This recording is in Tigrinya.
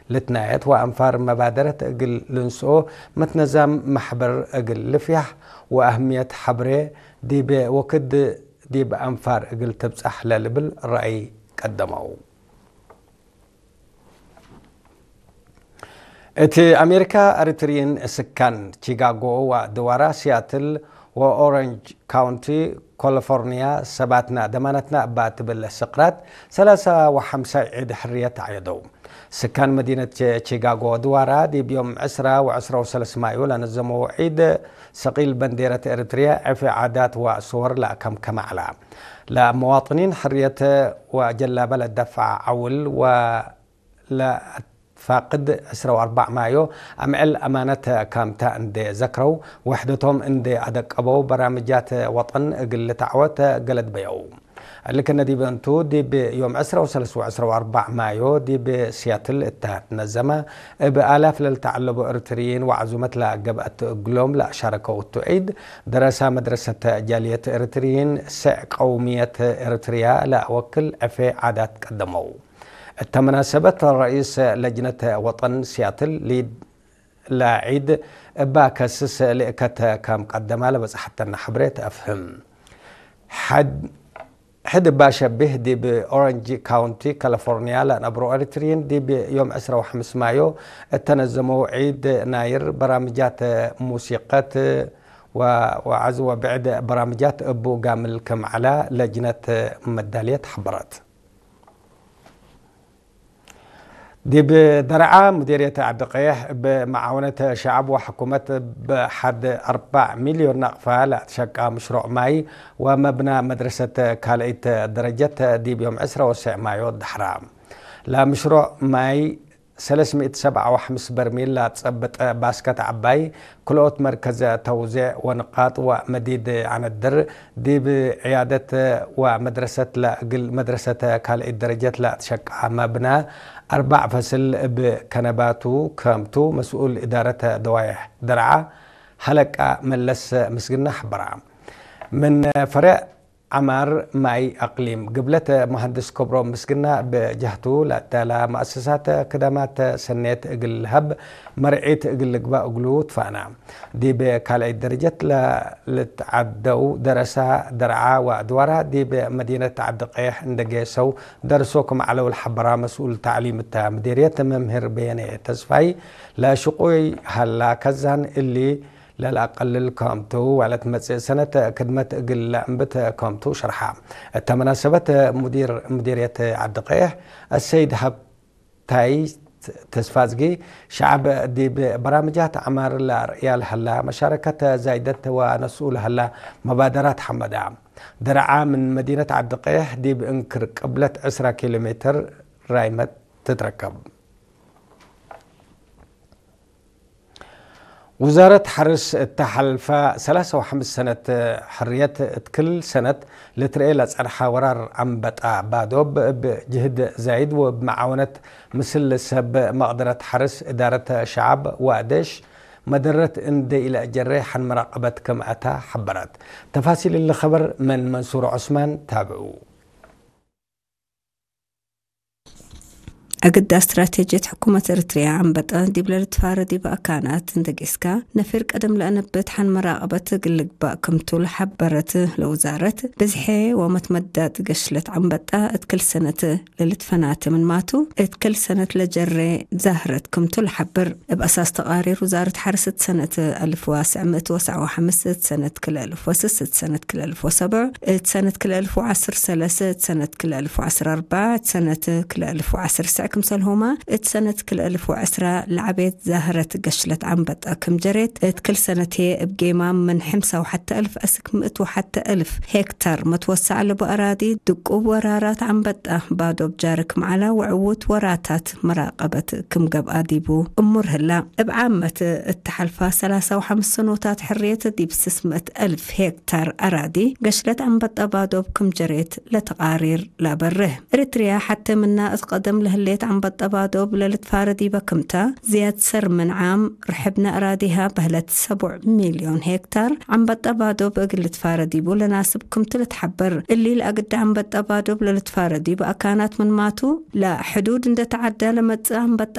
ልትናየት ወአንፋር መባደረት እግል ልንስኦ መትነዛም ማሕበር እግል ልፍያሕ ወአህምየት ሐብሬ ዲብ ወክድ ዲብ አንፋር እግል ትብጻሕ ለልብል ረአይ ቀደመው። እቲ አሜሪካ ኤሪትሪን ስካን ቺካጎ ወድዋራ ሲያትል ወኦረንጅ ካውንቲ ኮሊፎርኒያ ሰባትና ደማናትና እባ ትብል ስቅራት ሰላሳ ወሐምሳይ ዒድ ሕርየት አየደው። ስካን መዲነት ቺካጎ ድዋራ ዲብ ዮም ዕስራ ወዕስራ ወሰለስ ማዩ ለነዘመው ዒድ ሰቂል በንዴረት ኤሪትሪያ ዕፌ ዓዳት ወአስወር ለአከምከመ ዐላ። ለመዋጥኒን ሕርየት ወጀላበ ለደፍዐ ዐውል ወ ለአትፋቅድ ዕስራ ወአርባዕ ማዮ አምዕል አማነት ካምታ እንዴ ዘክረው፣ ወሕደቶም እንዴ አደቀበው በራምጃት ወጠን እግል ልታዕወት ገለድ በየው። እሊ ከነ ዲብ እንቱ ዲብ ዮም ዕስራ ወሰለስ ወዕስራ ወአርባዕ ማዮ ዲብ ሲያትል እታ ትነዘመ እብ አላፍ ለልተዓለቡ ኤሪትሪይን ወዓዙመት ለገብአት እግሎም ለአሻረከው እቱ ዒድ፣ ደረሳ መድረሰት ጃልየት ኤሪትሪይን ስዕ ቀውምየት ኤሪትሪያ ለአወክል ዕፌ ዓዳት ቀደመው። እተ መናሰበት ረኢስ ለጅነት ወጠን ሲያትል ሊድ ለዒድ እባ ከስስ ልእከት ከም ቀደማ ለበጽሐተና ሕብሬት አፍህም። ሐድ ሕድ እባ ሸቢህ ዲብ ኦረንጅ ካውንቲ ካሊፎርኒያ ለነብሮ ኤሪትሪን ዲብ ዮም ዕስራ ወሐምስ ማዮ እተነዘመው ዒድ ናይር በራምጃት ሙሲቀት ወ-፣ ወዐዝ ወብዕድ በራምጃት እቡ ጋምል ክም ዐላ ለጅነት መዳልየት ሐበረት። ዲብ ደርዓ ሙዲርየት ዓዲ ቀይሕ ብመዓውነት ሸዓብ ወሕኩመት ብሓድ አርባዕ ሚልዮን ናቕፋ ለኣትሸቃ ምሽሮዕ ማይ ወመብና መድረሰት ካልኣይት ደረጀት ዲብ ዮም ዕስራ ወስዕ ማዮ ዳሕራ። ለምሽሮዕ ማይ ሰለስሚእት ሰብዓ ወሐምስ በርሚል ለጸብጥ ባስከት ዓባይ ክልኦት መርከዘ ተውዜዕ ወንቃጥ ወመዲድ አነድር ዲብ ዕያደት ወመድረሰት ለእግል መድረሰተ ካልኣይት ደረጀት ለአትሸቃ መብና አርባዕ ፈስል እብ ከነባቱ ከምቱ መስኡል እዳረተ ደዋይሕ ደርዓ ሐለቃ መለስ ምስግና ሐበራ። ምን ፈረዕ ዐማር ማይ አቅሊም ግብለት መሃንድስ ክብሮም ምስግና ብጀህቱ ለአዳላ መአሰሳት ክዳማት ሰኔት እግል ልሀብ መርዒት እግል ልግባእ እግሉ ትፋና። ዲብ ካልኣይት ደረጀት ለልትዓደው ደረሳ ደርዓ ወአድዋራ ዲብ መዲነት ዓዲ ቀይሕ እንደ ጌሰው ደርሶ ክም ዐለው ለሐበራ መስኡል ተዕሊም እታ ምዲርየት መምህር በየነ ተስፋይ ለሽቁይ ሀላ ከዛን እሊ ለልአቀልል ከምቱ ዋለት መጽእ ሰነት ክድመት እግል ለእንብት ከምቱ ሸርሓ። እተ መናሰበት ሙዲር ምዲርየት ዓዲ ቀይሕ አሰይድ ሀብታይ ተስፋዝጊ ሸዓብ ዲብ በራምጃት ዐማር ለአርእያ ለሀላ መሻረከት ዛይደት ወነስኡ ለሀላ መባደራት ሐመዳ። ደርዓ ምን መዲነት ዓዲ ቀይሕ ዲብ እንክር ቅብለት ዕስራ ኪሎ ሜትር ራይመት ትትረከብ። ውዛረት ሐርስ እተ ሐልፋ ሰላሳ ወሐምስ ሰነት ሕርየት እት ክል ሰነት ልትርኤ ለጸንሐ ወራር አንበጣ ባዶብ እብ ጅህድ ዛይድ ወእብ መዓወነት ምስል ሰብ መቅደረት ሐርስ እዳረት ሸዓብ ወአደሽ መደረት እንደ ኢለአጀረ ሐን መራቀበት ከም አታ ሐበረት። ተፋሲል እሊ ኸበር መን መንሱር ዑስማን ታብዑ። አግዳ ስትራቴጅየት ሕኩመት ኤርትርያ አንበጣ ዲብለ ልትፋረ ዲብ አካናት እንተ ጌስካ፣ ነፊር ቀደም ለአነብት ሐን መራቀበት እግል ልግባእ ክምቱ ለሐበረት ለውዛረት፣ ብዝሐ ወመትመዳጥ ገሽለት አንበጣ እት ክል ሰነት ለልትፈናተ ምንማቱ፣ እት ክል ሰነት ለጀሬ ዛህረት ክምቱ ለሐብር። እብ አሳስ ተቃሪር ውዛረት ሐርስ እት ሰነት አልፍ ወትስዕ ምእት ወትስዕ ወሐምስ፣ እት ሰነት ክልኤ አልፍ ወስስ፣ እት ሰነት ክልኤ አልፍ ወሰብዕ፣ እት ሰነት ክልኤ አልፍ ወዐስር ሰለሰ፣ እት ሰነት ክልኤ አልፍ ወዐስር አርባዕ፣ እት ሰነት ክልኤ አልፍ ወዐስር ትስዕ ክምሰልሁማ፣ እት ሰነት ክልኤ አልፍ ወዐስራ ለዐቤት ዛህረት ገሽለት አንበጣ ክም ጀሬት፣ እት ክል ሰነት ህዬ እብ ጌማም ምን ሕምሳ ወሐተ አልፍ አስክ ምእት ወሐተ አልፍ ሄክታር መትወሰዕ ለቡ አራዲ ድቁብ ወራራት አንበጣ ባዶብ ጃርክ መዓላ ወዕዉት ወራታት መራቀበት ክም ገብአ ዲቡ እሙር ህላ። እብ ዓመት እተሐልፋ ሰላሳ ወሐምስ ሰኖታት ሕርየት ዲብ ስስ ምእት አልፍ ሄክታር አራዲ ገሽለት አንበጣ ባዶብ ክም ጀሬት ለተቃሪር ለአበርህ። ኤሪትርያ ሐቴ ምና እት ቀደም ለህሌት ኣክታ ኣንበጣ ባዶብ ለልትፋረድ ይበክምታ ዝያድ ሰር ምንዓም ርሕብና ኣራዲሃ በህለት ሰቡዕ ሚልዮን ሄክታር ኣንበጣ ባዶብ እግል ልትፋረድ ይቡ ለናስብ ክምቱ ልትሓበር። እሊ ለኣግዳ ኣንበጣ ባዶብ ለልትፋረድ ይቡ ኣካናት ምንማቱ ለሕዱድ እንደተዓዳ ለመጽእ ኣንበጣ